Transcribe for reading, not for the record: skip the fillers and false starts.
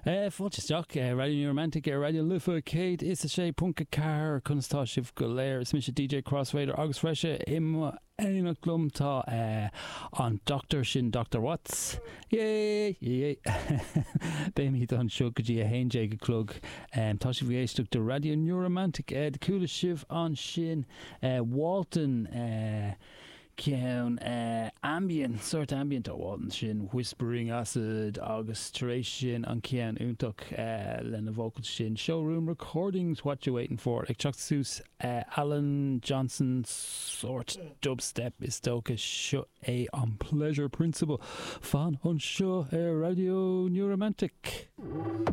Fáilte isteach, Raidió New Romantic ar Raidió na Life 106.4, conas tá sibh go léir? Is mise DJ Crossfader agus freisin i m'éineacht liom tá an Doctor sin Doctor Watts. Yay! Yay! Beimid anseo go dtí 11 a chlog. Tá sibh ag éisteacht do Raidió New Romantic. Chuala sibh ansin Walton. Ceann ambient, sórt ambient ó Walton sin, Whispering Acid agus tar éis sin an ceann iontach lena vocal sin, Showroom Recordings, What You Waiting For, ag teacht suas Alan Johnson, sórt dubstep is dócha, seo é an Pleasure Principle. Fan anseo ar Raidió New Romantic.